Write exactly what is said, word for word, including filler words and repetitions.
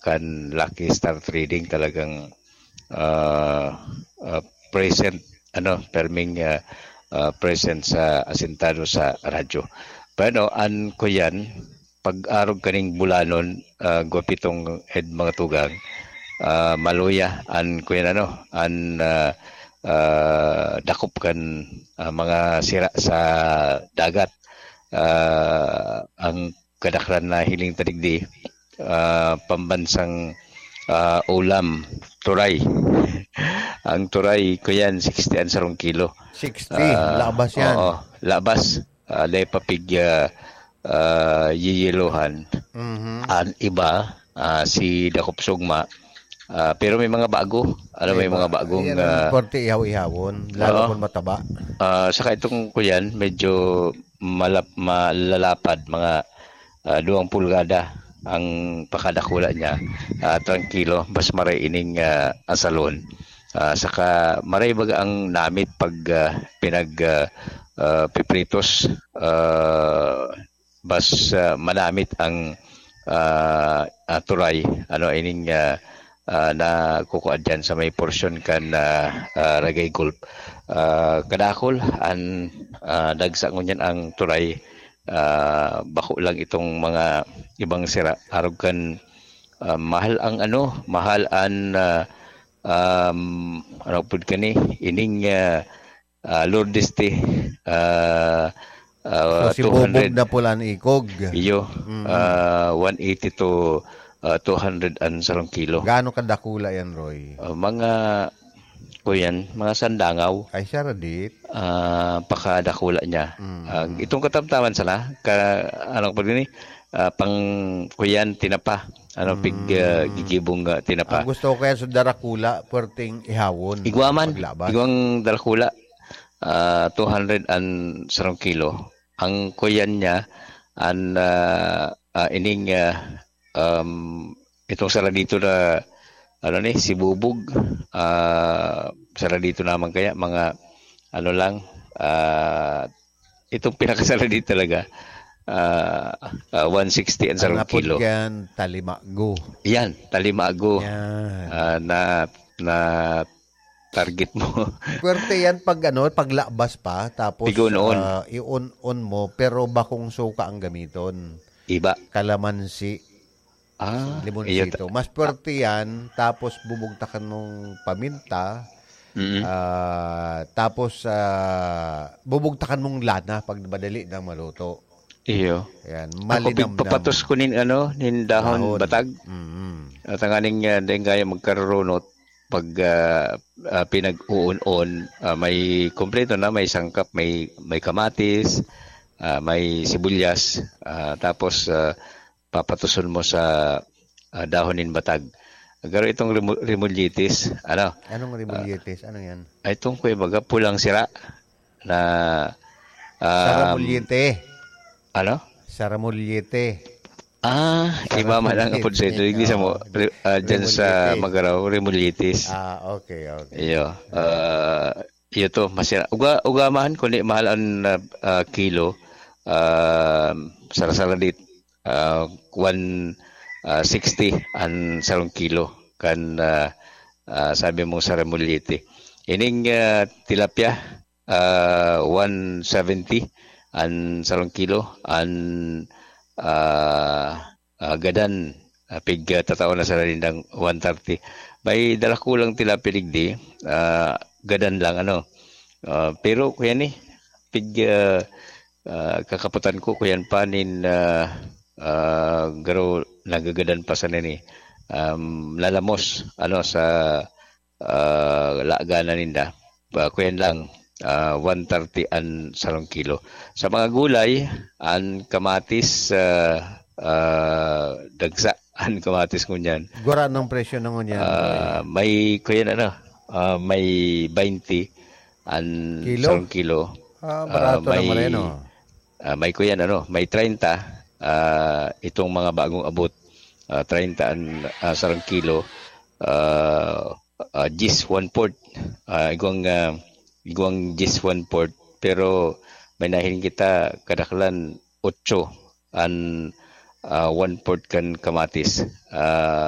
kan Lucky Star Trading, talagang, ah, ah, present, ano, perming, ah, ah, present sa, asentado sa radyo. Pero an kuyan, pag-arog kaning bulanon, ah, gwapitong ed mga tugang, ah, maluya an kuyan, ano, an, ah, ah, dakop kan, ah, mga sira sa dagat. Ah, ang kadaklan na hiling ta digdi, ah, pambansang, ah, ulam, turay. Ang turay, kuyan, sixty an sarong kilo. Sixty, Ah, labas yan. Oo, labas. Ah, dai pa pig, ah, ah, yiyelohan. Mhm. An iba, ah, si dakop sugma. Ah, pero may mga bago. Ano, may May mga ba-, bagong, yan ang ah, korte ihaw-ihawon, lalo Oo. kung mataba. Ah, saka itong kuyan, medyo malap-, malalapad, mga, ah, duwang pulgada ang pakadakula niya. Ah, trangkilo, mas maray ining, ah, asalon. Ah, saka maray baga ang namit pag, ah, pinag, ah, ah, pipritos, ah, mas, ah, manamit ang, ah, ah, turay, ano, ining, ah, ah, nakukuha diyan sa may porsyon kan, ah, ah, Ragay Gulf. Ah, kadakol an, ah, dagsa ngunyan ang turay, ah, bako lang itong mga ibang sira. Arog kan, ah, mahal ang ano, mahal an, ah, um, ano pud kani, ining, ah, ah, Lourdes Tea, ah, ah, So, si Bubog two hundred. na pula ni Ikog. Iyo, Mm. ah, one eighty to, ah, two hundred an sarong kilo. Gaano kadakula yan, Roy? Ah, mga, kuyan, mga sandangaw. Ay, siya radit. Ah, pakadakula niya. Mm. Ah, itong katamtaman sana, ka, ano pa din eh, ah, pang, kuyan, tinapa. Ano, pig, Mm. ah, gigibong, ah, tinapa. Ang gusto ko kaya sa darakula, puwerteng ihawon, Igwa man, paglabas. igwang darakula, ah, two hundred an sarong kilo. Ang kuyan niya, an, ah, ah, ining, ah, um, itong sara dito na, ano ni, si Bubog, ah, sara dito naman kaya, mga, ano lang, ah, itong pinakasara dito talaga, ah, ah, one sixty an Ang sarong apod kilo. yan, talimago. Yan, talimago. Yan. Ah, na, na target mo. Puwerte yan pag ano, paglabas pa, tapos, Pig-on-on. ah, i-on-on mo, pero bakong suka ang gamiton. Iba. Kalamansi, Ah, iyo limonsito. ta- Mas puwerte yan, tapos bubugtakan mong paminta, Mm. ah, tapos, ah, bubugtakan mong lana pag madali nang maluto. Iyo. Yan, Ako, malinamnam. pigpapatos ko nin ano, nin dahon Dahon. batag. Mm. At ang aning, ah, dahil kaya magkarurunot, pag, ah, ah, pinag-uun-on, ah, may kompleto na, may sangkap, may, may kamatis, ah, may sibuyas, ah, tapos, ah, papatuson mo sa, ah, dahon nin batag. Pero itong remo-, remolyitis, ano? Anong Ah, remolyitis? Ano yan? Ay, itong kuya baga, pulang sira na, um, Saramulyete. Ano? Saramulyete. Ah, iba man ang Saramulyete. apod sa ito. Hindi sa mo, Oo. re-, ah, dyan sa Remolyitis. Magaraw, remolyitis. Ah, okay, okay. Iyo. Ah, iyo to, masira. Uga, uga man, kundi mahal ang, ah, ah, kilo, ah, sara-sara dit, ah, one, ah, sixty ang sarong kilo. Kan, ah, ah, sabi mo sa Remulyete. Ining, ah, tilapia, ah, one seventy ang sarong kilo. Ang, ah, ah, gadan, ah, pig, ah, tatao na sa nindang one thirty. May dalakulang tilapia digdi, ah, gadan lang, ano. Ah, pero kuya ni, pig, ah, ah, kakaputan ko, kuyan pa nin, ah, ah, garo nagagadan pa sa nini. Um, lalamos, ano, sa, ah, laganan ninda. Ah, kuyan lang, ah, one thirty an sarong kilo. Sa mga gulay, an kamatis, ah, ah, dagsa an kamatis ngunyan. Gura ng presyo na ngunyan, Ah, Roy? may, kuyan, ano, ah, may twenty an Kilo? sarong kilo. Ah, Ah, barato may, naman yan, oh. ah, may, kuyan, ano, may treinta, ah, itong mga bagong abot. Ah, treinta an, ah, sarong kilo. Ah, ah, diyes, one-fourth. Ah, igwang, ah, igwang diyes, one-fourth. Pero may nahiling kita, kadaklan, otso an, ah, one-fourth kan kamatis. Ah,